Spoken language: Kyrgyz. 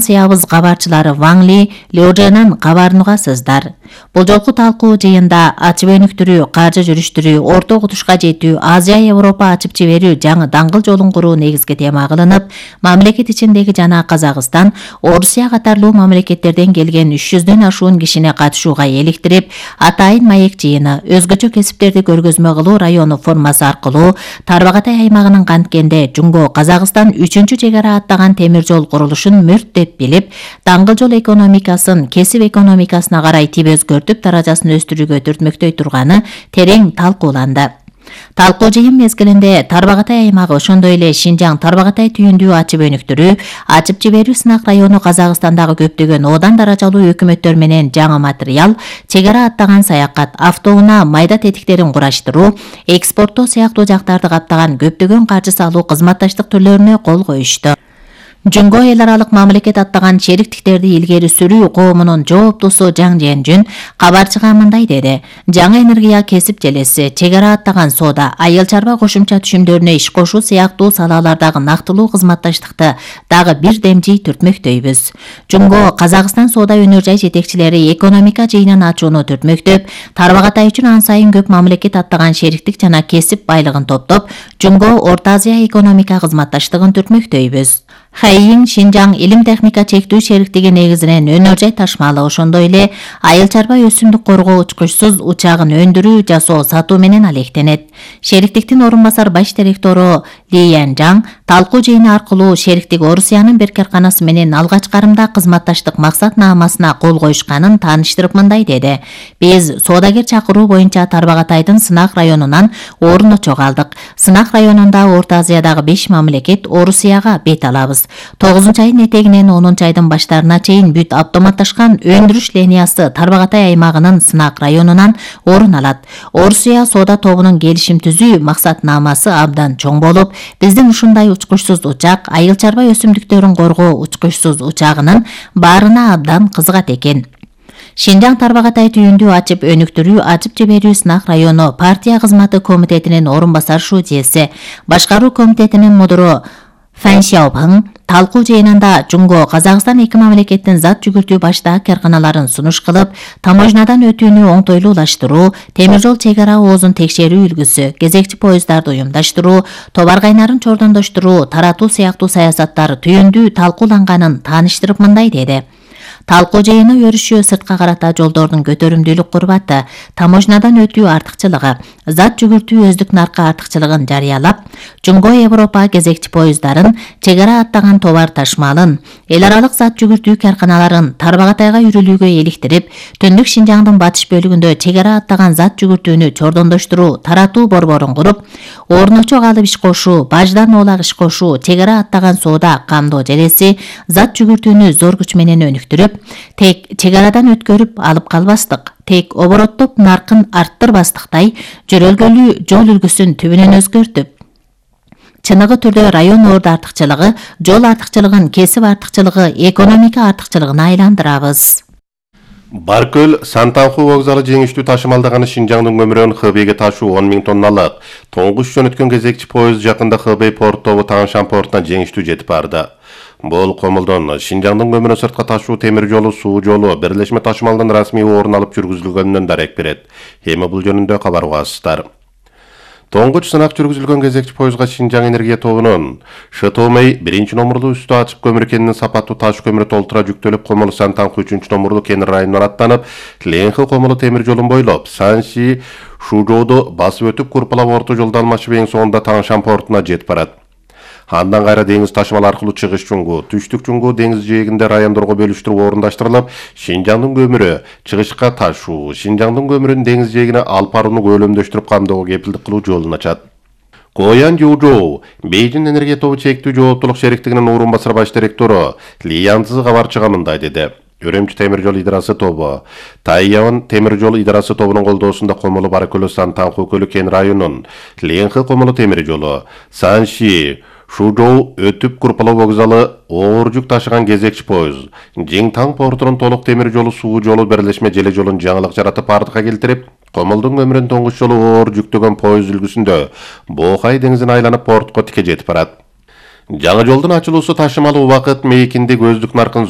станциябыз кабарчылары Ван Ли, Лю Жэнэн кабарын угасыздар. Бул жолку талкуу жыйында ачып өнүктүрүү, каржы жүрүштүрүү, орто окутушка жетүү, Азия Европа ачып жиберүү жаңы даңгыл жолун куруу негизги тема кылынып, мамлекет ичиндеги жана Казакстан, Орусия катарлуу мамлекеттерден келген 300дөн ашуун кишини катышууга эликтирип, атайын маек жыйыны, өзгөчө кесиптерди көргөзмө кылуу району формасы аркылуу Тарбагатай аймагынын канткенде Жумго Казакстан 3-чү чегара аттаган темир жол курулушун мүрт деп билип, даңгыл жол экономикасын кесип экономикасына карай өзгөртүп даражасын өстүрүүгө түртмөктөй турганы терең талкууланды. Талкуу жыйын мезгилинде Тарбагатай аймагы, ошондой эле Шинжаң Тарбагатай түйүндүү ачып өнүктүрүү, ачып жиберүү сынак району Казакстандагы көптөгөн одан даражалуу өкмөттөр менен жаңы материал, чегара аттаган саякат, автоунаа майда тетиктерин кураштыруу, экспорттоо сыяктуу жактарды каптаган көптөгөн каржы салуу кызматташтык түрлөрүнө кол коюшту. Жумго эл аралык мамлекет аттаган шериктиктерди илгери сүрүү коомунун жооптусу Жаң Жэнжүн кабарчыга мындай деди: жаңы энергия кесип желеси, чегара аттаган соода, айыл чарба кошумча түшүмдөрүнө иш кошуу сыяктуу салалардагы нактылуу кызматташтыкты дагы бир демжий түртмөктөйбүз. Жумго Казакстан соода өнөр жай жетекчилери экономика жыйынын ачууну түртмөктөп, Тарбагатай үчүн ан сайын көп мамлекет аттаган шериктик жана кесип байлыгын топтоп, Жумго Орто Азия экономика кызматташтыгын түртмөктөйбүз. Хайин Шинжаң илим техника чектүү шериктиги негизинен өнөр жай ташмалы, ошондой эле айыл чарба өсүмдүк коргоо учкучсуз учагын өндүрүү, жасоо, сатуу менен алектенет. Шериктиктин орун басар баш директору Ли Янжаң талкуу жыйыны аркылуу шериктик Орусиянын бир карканасы менен алгач карымда кызматташтык максатнамасына кол коюшканын тааныштырып мындай деди: биз соодагер чакыруу боюнча Тарбагатайдын сынак районунан орун очого алдык. Сынак районунда Орто Азиядагы 5 мамлекет Орусияга бет алабыз. 9-айдын этегинен 10-айдын баштарына чейин бүт автоматташкан өндүрүш линиясы Тарбагатай аймагынын сынак районунан орун алат. Орусия соода тобунун келишим түзүү максатнамасы абдан чоң болуп, биздин ушундай учкучсуз учак, айыл чарба өсүмдүктөрүн коргоо учкучсуз учагынын баарына абдан кызыгат экен. Шинжаң Тарбагатай түйүндүү ачып өнүктүрүү, ачып жиберүү сынак району партия кызматы комитетинин орун басар шуудиеси, башкаруу комитетинин мудуру Фан Сяопың талкуу жыйынында Жумго Казакстан эки мамлекеттин зат жүгүртүү баштаак карканаларын сунуш кылып, таможнядан өтүүнү оңтойлуулаштыруу, темир жол чегара оозун текшерүү үлгүсү, кезекчи поездарды уюмдаштыруу, товар кайнарын чордондоштуруу, таратуу сыяктуу саясаттар түйүндүү талкууланганын тааныштырып мындай деди: талкуу жыйыны өрүшүү сыртка карата жолдордун көтөрүмдүүлүк курбаты, таможнядан өтүү артыкчылыгы, зат жүгүртүү өздүк наркы артыкчылыгын жарыялап, Жумго Европа кезекчи поезддарын, чегара аттаган товар ташмалын, эл аралык зат жүгүртүү карканаларын Тарбагатайга үрүлүүгө эликтирип, Түндүк Шинжаңдын батыш бөлүгүндө чегара аттаган зат жүгүртүүнү чордондоштуруу, таратуу борборун куруп, орночок алып иш кошуу, баждан оолак иш кошуу, чегара аттаган соода камдоо желеси, зат жүгүртүүнү зор күч менен өнүктүрүп, тек чегарадан өткөрүп алып калбастык, тек обороттоп наркын арттырбастыктай жөрөлгөлүү жол үлгүсүн түбүнөн өзгөртүп, чыныгы түрдө район орду артыкчылыгы, жол артыкчылыгын кесип артыкчылыгы, экономика артыкчылыгына айландырабыз. Баркөл Сантанху вокзалы жеңиштүү ташымалдаганы Шинжаңдын көмүрөн Хэбэйге ташуу 10 000 тонналык тоңгуч жөнөткөн кезекчи поезд жакында Хэбэй порттогу Таңшан портуна жеңиштүү жетип барды. Бул комулдон Шинжаңдын көмүрүн сыртка ташуу темир жолу, суу жолу бирлешме ташымалдан расмий орун алып жүргүзүлгөнүнөн дарек берет. Эми бул жөнүндө кабар угасыздар. Тоңгуч сынак жүргүзүлгөн кезекчи поездга Шинжаң энергия тобунун ШТОМей 1-номурлуу үстү ачык көмүр кенинин сапаттуу таш көмүрү толтура жүктөлүп Комулу Сантанху 3-номурлуу кен районуна аттанып, Ленхи Комулу темир жолун бойлоп, Санши Шужоодо басып өтүп Курпалап орто жолдон алмашып эң соңунда Таңшан портуна жетип барат. Андан кайра деңиз ташымал аркылуу чыгыш Чуңгу, түштүк Чуңгу деңиз жээгинде райондорго бөлүштүрүп орундаштырылып, Шинжаңдын көмүрү чыгышка ташуу, Шинжаңдын көмүрүн деңиз жээгине алып барууну көлөмдөштүрүп камдоого кепилдик кылуу жолун ачат. Коян Жужоу, Бейжин энергия тобу чектүү жооптулук шериктигинин орун басар баш директору Ли Янзы кабарчыга мындай деди: Өрөмчү темир жол идарасы тобу, Тайян темир жол идарасы тобунун колдоосунда Комулу Баркөлө Сантанху көлү кен районунун Ленхи Комулу темир жолу, Санши Шужоу өтүп Курпалоо вокзалы оор жүк ташыган кезекчи поезд, Жиңтаң портунун толук темир жолу, суу жолу бирлешме желе жолун жаңылык жаратып артка келтирип, Комулдун көмүрүн тоңгуч жолу оор жүктөгөн поезд үлгүсүндө Боокай деңизин айланып портко тике жетип барат. Жаңы жолдун ачылуусу ташымал убакыт мейкинди көздүк наркын